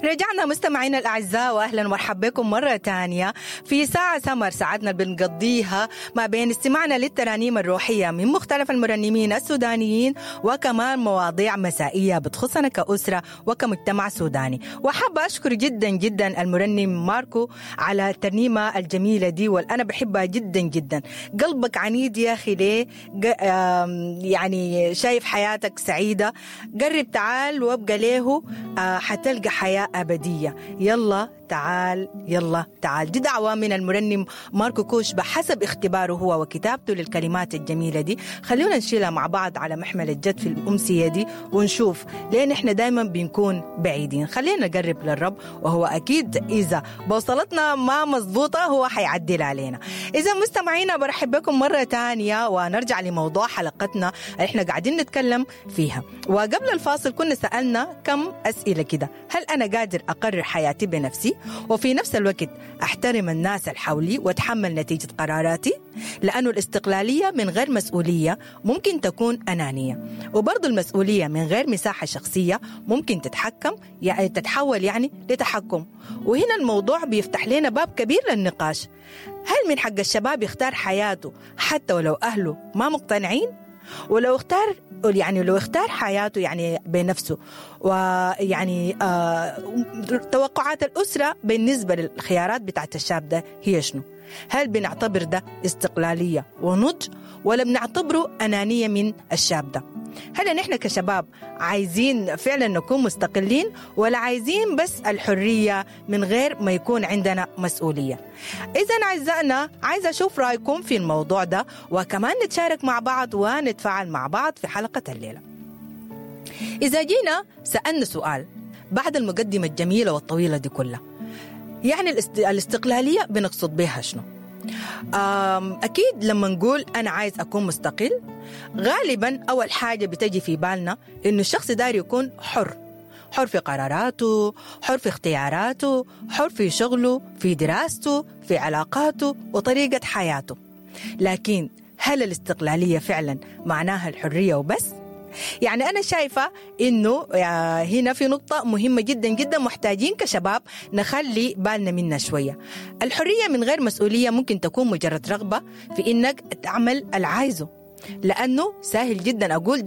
رجعنا مستمعينا الأعزاء، وأهلا ومرحبا بكم مرة تانية في ساعة سمر، ساعتنا اللي بنقضيها ما بين استماعنا للترانيم الروحية من مختلف المرنمين السودانيين، وكمان مواضيع مسائية بتخصنا كأسرة وكمجتمع سوداني. وحابة أشكر جدا جدا المرنم ماركو على الترنيمة الجميلة دي، والأنا بحبها جدا جدا. قلبك عنيد يا أخي ليه؟ يعني شايف حياتك سعيدة، قرب تعال وابقى له، حتلقى حياة أبدية. يلا تعال، يلا تعال. دي دعوة من المرنم ماركو كوش بحسب اختباره هو وكتابته للكلمات الجميلة دي. خلونا نشيلها مع بعض على محمل الجد في الأمسية دي، ونشوف ليه نحن دايما بنكون بعيدين. خلينا نقرب للرب، وهو أكيد إذا بوصلتنا ما مظبوطة هو حيعدل علينا. إذا مستمعينا برحب بكم مرة تانية، ونرجع لموضوع حلقتنا اللي احنا قاعدين نتكلم فيها. وقبل الفاصل كنا سألنا كم أسئلة كده: هل أنا قادر أقرر حياتي بنفسي وفي نفس الوقت أحترم الناس الحولي وأتحمل نتيجة قراراتي؟ لأنه الاستقلالية من غير مسؤولية ممكن تكون أنانية، وبرضو المسؤولية من غير مساحة شخصية ممكن تتحكم، يعني تتحول يعني لتحكم. وهنا الموضوع بيفتح لنا باب كبير للنقاش: هل من حق الشباب يختار حياته حتى ولو أهله ما مقتنعين؟ ولو اختار، يعني لو اختار حياته يعني بنفسه، ويعني توقعات الأسرة بالنسبة للخيارات بتاعت الشاب ده هي شنو؟ هل بنعتبر ده استقلالية ونضج، ولا بنعتبره أنانية من الشاب ده؟ هل نحن كشباب عايزين فعلا نكون مستقلين، ولا عايزين بس الحرية من غير ما يكون عندنا مسؤولية؟ إذا أعزائنا عايزة أشوف رأيكم في الموضوع ده، وكمان نتشارك مع بعض ونتفاعل مع بعض في حلقة الليلة. إذا جينا سألنا سؤال بعد المقدمة الجميلة والطويلة دي كلها، يعني الاستقلالية بنقصد بها شنو؟ أكيد لما نقول أنا عايز أكون مستقل، غالبا أول حاجة بتجي في بالنا إنه الشخص داير يكون حر، حر في قراراته، حر في اختياراته، حر في شغله، في دراسته، في علاقاته وطريقة حياته. لكن هل الاستقلالية فعلا معناها الحرية وبس؟ يعني أنا شايفة إنه هنا في نقطة مهمة جدا جدا محتاجين كشباب نخلي بالنا منها شوية. الحرية من غير مسؤولية ممكن تكون مجرد رغبة في إنك تعمل العايزه، لأنه سهل جدا أقول ده